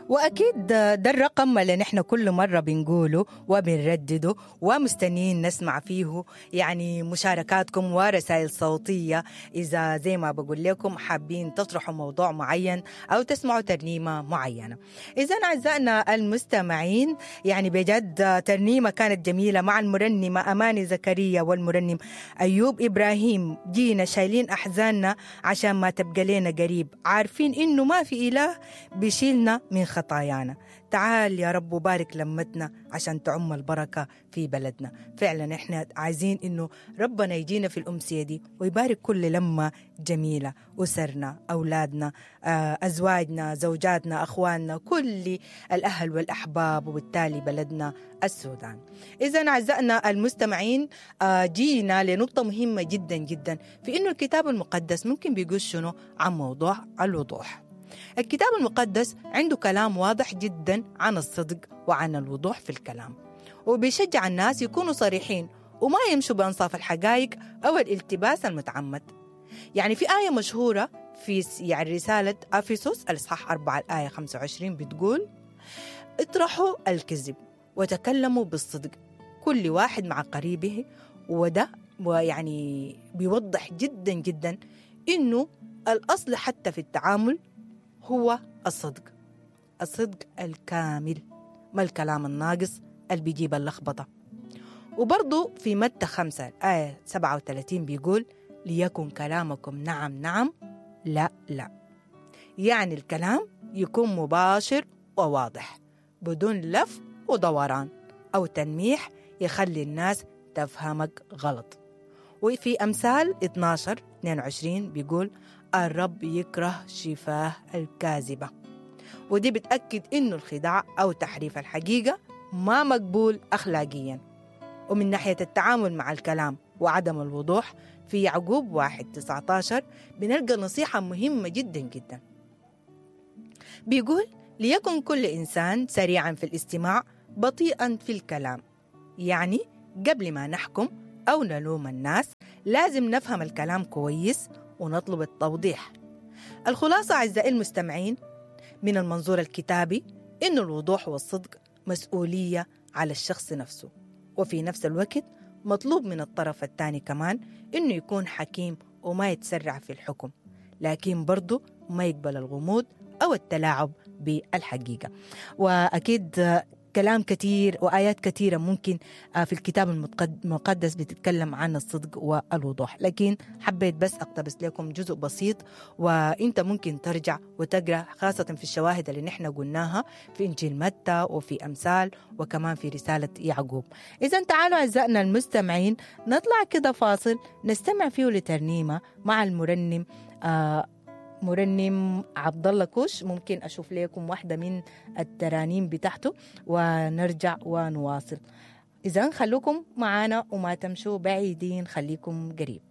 وأكيد ده الرقم اللي نحن كل مرة بنقوله وبنردده ومستنيين نسمع فيه يعني مشاركاتكم ورسائل صوتية، إذا زي ما بقول لكم حابين تطرحوا موضوع معين أو تسمعوا ترنيمة معينة. إذا أعزائنا المستمعين، يعني بجد ترنيمة كانت جميلة مع المرنمة أماني زكريا والمرنم أيوب إبراهيم. جينا شايلين أحزاننا عشان ما تبقى لنا قريب، عارفين إنه ما في إله بيشيلنا من خطايانا. تعال يا رب وبارك لمتنا عشان تعم البركة في بلدنا. فعلا احنا عايزين انه ربنا يجينا في الأمسية دي ويبارك كل لمة جميلة، أسرنا، أولادنا، أزواجنا، زوجاتنا، أخواننا، كل الأهل والأحباب، وبالتالي بلدنا السودان. إذا أعزائنا المستمعين، جينا لنقطة مهمة جدا جدا في إنه الكتاب المقدس ممكن بيقول شنو عن موضوع الوضوح. الكتاب المقدس عنده كلام واضح جدا عن الصدق وعن الوضوح في الكلام، وبيشجع الناس يكونوا صريحين وما يمشوا بأنصاف الحقائق أو الالتباس المتعمد. يعني في آية مشهورة في يعني رسالة أفسس الإصحاح 4 الآية 25 بتقول: اطرحوا الكذب وتكلموا بالصدق كل واحد مع قريبه. وده ويعني بيوضح جدا جدا إنه الأصل حتى في التعامل هو الصدق، الصدق الكامل، ما الكلام الناقص اللي بيجيب اللخبطة. وبرضو في متى 5 آية 37 بيقول: ليكن كلامكم نعم نعم لا لا. يعني الكلام يكون مباشر وواضح بدون لف ودوران أو تنميح يخلي الناس تفهمك غلط. وفي أمثال 12:22 بيقول: الرب يكره شفاه الكاذبة. ودي بتأكد إنه الخداع أو تحريف الحقيقة ما مقبول أخلاقيا. ومن ناحية التعامل مع الكلام وعدم الوضوح، في يعقوب 1:19 بنلقى نصيحة مهمة جدا جدا، بيقول: ليكن كل إنسان سريعا في الاستماع بطيئا في الكلام. يعني قبل ما نحكم أو نلوم الناس لازم نفهم الكلام كويس ونطلب التوضيح. الخلاصة أعزائي المستمعين من المنظور الكتابي إن الوضوح والصدق مسؤولية على الشخص نفسه، وفي نفس الوقت مطلوب من الطرف الثاني كمان إنه يكون حكيم وما يتسرع في الحكم، لكن برضو ما يقبل الغموض أو التلاعب بالحقيقة. وأكيد كلام كثير وآيات كثيرة ممكن في الكتاب المقدس بتتكلم عن الصدق والوضوح، لكن حبيت بس أقتبس لكم جزء بسيط، وإنت ممكن ترجع وتقرأ خاصة في الشواهد اللي نحن قلناها في إنجيل متى وفي أمثال وكمان في رسالة يعقوب. إذا تعالوا أعزائنا المستمعين نطلع كده فاصل نستمع فيه لترنيمة مع المرنم مرنم عبد الله كوش. ممكن أشوف لكم واحدة من الترانيم بتاعته ونرجع ونواصل. إذن خلوكم معانا وما تمشوا بعيدين، خليكم قريب.